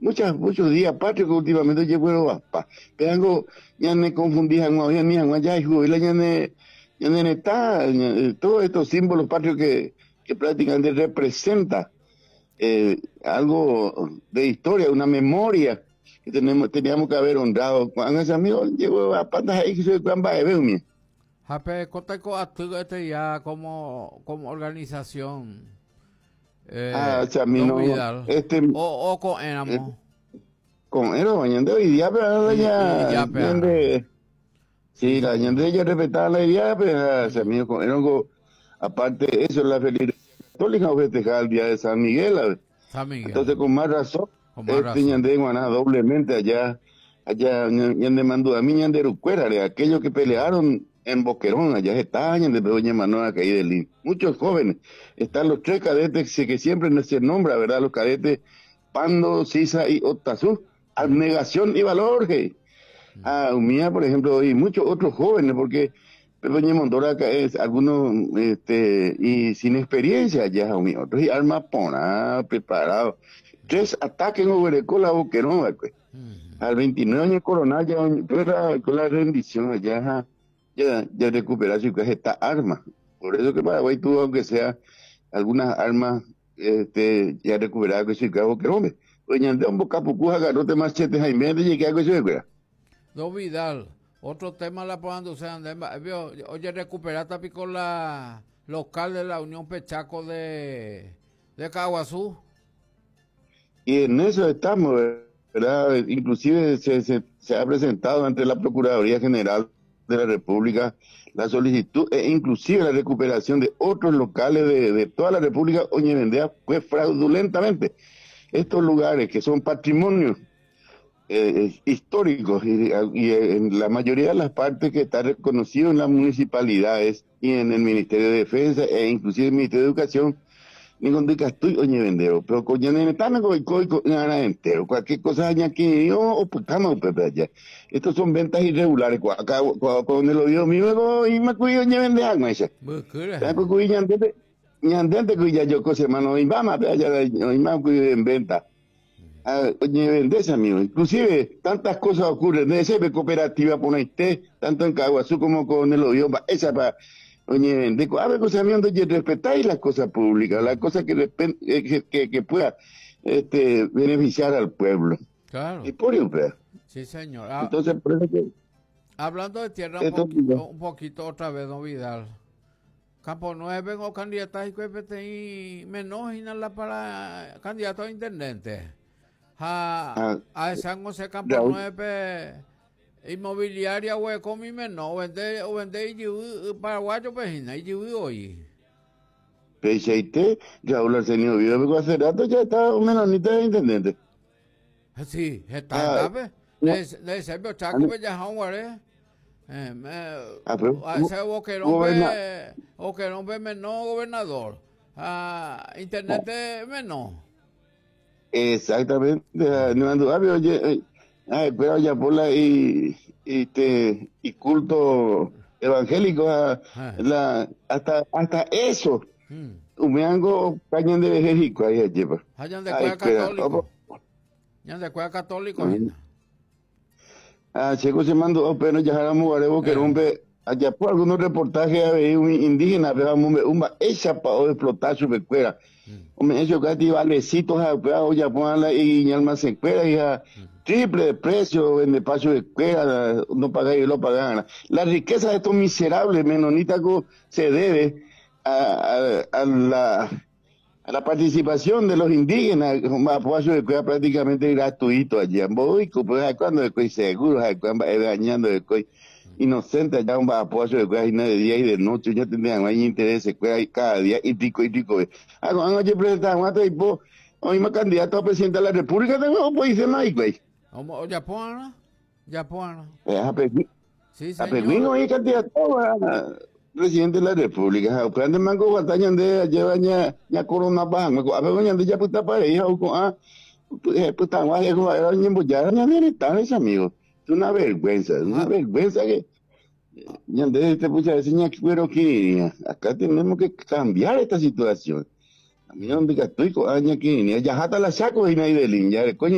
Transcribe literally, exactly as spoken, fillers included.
Muchas, muchos días patrios que últimamente llevo pa. Pero algo ya me confundí, ya ya está todos estos símbolos patrios que, que prácticamente representa eh, algo de historia, una memoria que tenemos, teníamos que haber honrado. Cuando ese amigo llegó a patas ahí que se de Jape, este ya como, como organización. Eh, ah, o sea, mi no, este, o, o con Éramos. Eh, con Éramos, hoy día, pero ya, ya, sí, la ñande ya respetaba la idea, pero o sea, mío, con Éramos, aparte de eso, la felicidad católica festejaba el día de San Miguel. San Miguel. Entonces, con más razón, con más este razón. Ñande Guaná doblemente allá, allá, ñande mandó a mí, ñande Rucuera, aquellos que pelearon en Boquerón, allá está, ñande Doña Manuela Caí de Lin. Muchos jóvenes, están los tres cadetes que siempre se nombra, ¿verdad? Los cadetes Pando, Sisa y Otazú, abnegación y valor, hey. Ah, Umía, por ejemplo, y muchos otros jóvenes, porque Doña Mondora es algunos, este, y sin experiencia ya, Umía, otros y armas pona, preparado. Tres ataques en Oberecola, Boquerón, pues. Al veintinueve años coronal, ya, con la rendición, ya, ya, ya recuperó su esta arma. Por eso que Paraguay tuvo, aunque sea algunas armas, este, ya recuperada que su Boquerón. Doña Andrea, un bocapucú, agarrote machete, Jaime, de llegué a que se vea. Don Vidal, otro tema la puedan usar, oye, recuperaste con la local de la Unión Pechaco de, de Caguazú. Y en eso estamos, ¿verdad? Inclusive se, se, se ha presentado ante la Procuraduría General de la República la solicitud e inclusive la recuperación de otros locales de, de toda la República. Oye, vendía pues fraudulentamente estos lugares que son patrimonios eh, históricos y, y en la mayoría de las partes que está reconocido en las municipalidades y en el Ministerio de Defensa e inclusive el Ministerio de Educación, ningún de castuy oye vendeo, pero con entero, cualquier cosa aquí o pues allá. Estos son ventas irregulares. Acá con el oído mío y me cuido oye vende algo esa. Ñandente cuya yo cosa mano y vamos allá y más cuido en venta. Oye vende amigo, inclusive tantas cosas ocurren de esa cooperativa por ahí, tanto en Caguazú como con el oído, esa para oye, de a ver, cosa mía, oye, respetáis las cosas públicas, las cosas que, que, que, que pueda este, beneficiar al pueblo. Claro. Y por eso, sí, señor. Ah, entonces, por eso que, hablando de tierra, un poquito, un poquito otra vez, don Vidal. Campo Nueve, o candidato y menos y nada para candidato a intendente. A, ah, a San José Campo Raúl. Nueve. Inmobiliaria o con mi menor, vende o vende y paraguayo pejina y hoy. P seis T, Raúl Arsenio Vive, hace rato ya está un menonita de intendente. Sí, está, ¿sabes? De de ese chaco que ya jugaré. Eh, Ah, pero, ese Boquerón pe, Boquerón pe menor gobernador. Ah, intendente menor. Exactamente, no ando, oye, ah, pero ya por la y, y, este, y culto evangélico, ah, ah. la, hasta, hasta eso. Mm. Umeango cañan de vejerico ahí lleva. Hayan de cueva católico. Hayan de cueva católico. Mm. Ah, chico se mandó, pero ya haramos guarebo que rompe allá por algunos reportajes a ver un indígena, pero un esa pa o explotar su pecuera. Hombre, eso casi valecitos a o ya ponla y alma se cuera y a triple de precio en el paso de cuera, no paga y lo pagan. La riqueza de estos miserables menonitas se debe a, a, a la a la participación de los indígenas, paso de cuera prácticamente gratuito allá en Boico, pues cuando de seguro, cuando dañando de coi inocente allá un apoyo de cuera de día y de noche, yo tendría no hay interés de cuera cada día y pico y pico. Ah, no, yo presentaba un tipo, hoy más candidato a presidente de la República, tengo pues dice no güey. ¿Cómo? ¿Japón? ¿Japón? Sí, señor. A Peguín hoy candidato a presidente de la República. Grande mango guataña de lleva ña ña corona ban, a ver ña de ya puta para hija o ah puta guay como era ña embollar ña ni tan ese amigo. Es una vergüenza, es una vergüenza que ñande este pucha ese ña cuero que acá tenemos que cambiar esta situación. A mí donde estoy con aña que ya hasta la saco y nadie de ya coño.